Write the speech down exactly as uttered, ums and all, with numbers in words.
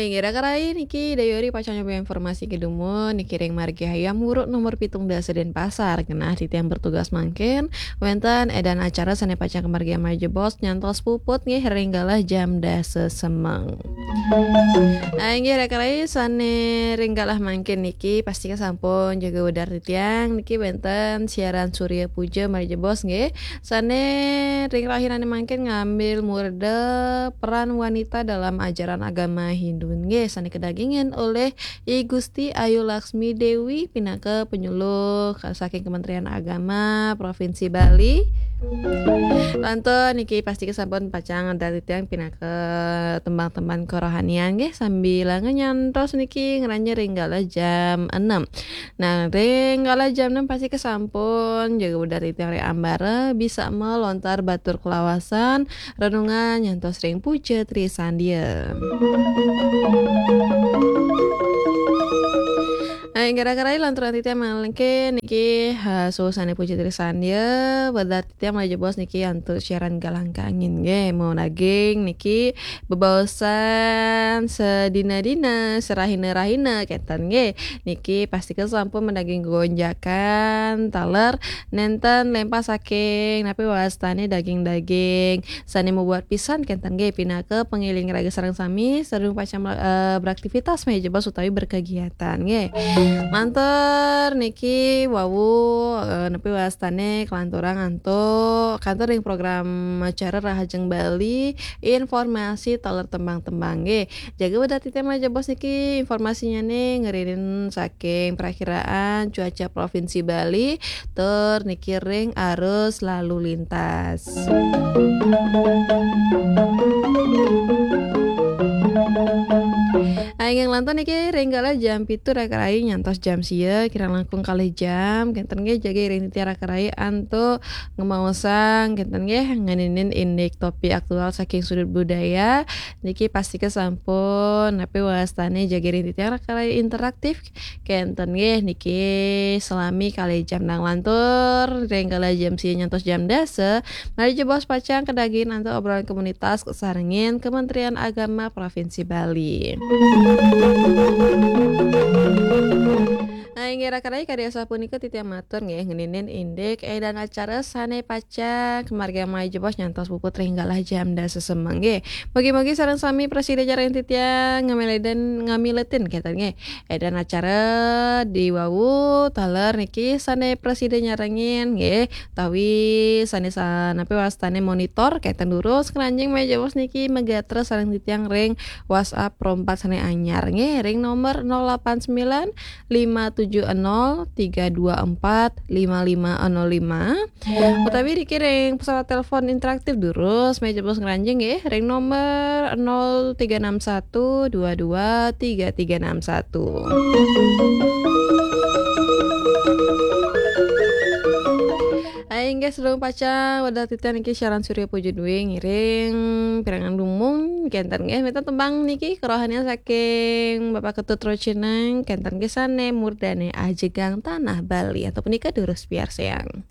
Inggih, raka rai niki Dayori pacang nyoba informasi ké dumun niki ring margi Hayam Wuruk nomor pitung dasa Denpasar. Genah titiang bertugas mangkin wénten édan acara sané pacang kamargiang malih jebos nyantos puput nggih ring galah jam dasa semeng. Ah, inggih raka rai sané ring galah mangkin niki pastika sampun jaga wedar titiang niki wénten siaran Surya Puja malih jebos nggih. Sané ring rahinané mangkin ngambil murda peran wanita dalam ajaran agama Hindu nggih, sané kadagingin olih I Gusti Ayu Laksmi Dewi pinaka penyuluh saking Kementerian Agama Provinsi Bali. Lantur niki pastika sampun pacang ngedar titiang pinaka tembang-tembang kerohanian nggih, sambilanga nyantos niki ngranjing ring galah jam enam. Nah, ring galah jam enam pastika sampun jaga wedar titiang ring ambara, bisa melontar batur kelawasan, renungan nyantos ring puja trisandia. Nah, inggih raka rai lanturang titiang mangkin niki, ha, susané puja trisandia, wedar titiang malih jebos niki antuk siaran Galang Kangin nggih, madaging niki bebaosan sadina-dina, sarahina-rahina kénten nggih. Niki pastika sampun madaging gonjakan taler nénten lémpas saking napi wastané daging-daging sané mabuat pisan kénten nggih, pinaka pangiling raga sareng sami sadurung pacang mela-, eh, beraktivitas malih jebos utawi berkegiatan nggih. Lantur niki wau, eh, napi wastané kalanturang antuk kantor ring program acara Rahajeng Bali, informasi taler tembang-tembang nggih. Jaga wedar titiang malih jebos niki informasinyané ngiring saking perakiraan cuaca Provinsi Bali, tur niki ring arus lalu lintas. Inggih lanturang niki ring galah jam pitu raka rai nyantos jam sia, kirang langkung kalih jam, kénten nggih jaga iring titiang raka rai antuk ngemaosang, kénten nggih, ngeninin indik topik aktual saking sudut budaya. Niki pastika sampun napi wastané jaga iring titiang raka rai interaktif, kénten nggih, niki salami kalih jam. Nah, lantur ring galah jam sia nyantos jam dasa, malih jebos pacang kadagingin antuk obrolan komunitas kasarengin Kementerian Agama Provinsi Bali. Nah, inggih raka rai kadi asapunika titiang matur nggih, ngeninin indik édan acara sané pacang kamargiang malih jebos nyantos puput ring galah jam dasa semeng nggih. Mugi-mugi sareng sami prasida nyarengin titiang ngamiletin, ngamiletin kénten nggih. Édan acara diwawu taler niki sané prasida nyarengin nggih, utawi sané sa-, napi wastané monitor kénten durus ngranjing malih jebos niki magatra sareng titiang ring WhatsApp Pro empat sané anyar nggih, ring nomor nol delapan sembilan lima tujuh nol tiga dua empat lima lima nol lima. Utawi dikiring pesawat telepon interaktif durus, malih jebos ngranjing nggih, ring nomor nol tiga enam satu dua dua tiga tiga enam satu. Inggih, sadurung pacang wedar titiang niki siaran Surya Puja Dwi ngiring pirengang dumun kénten nggih, wénten tembang niki kerohanian saking Bapak Ketut Rocineng, kénten nggih sané murdané Ajegang Tanah Bali, antuk punika durus piarsayang.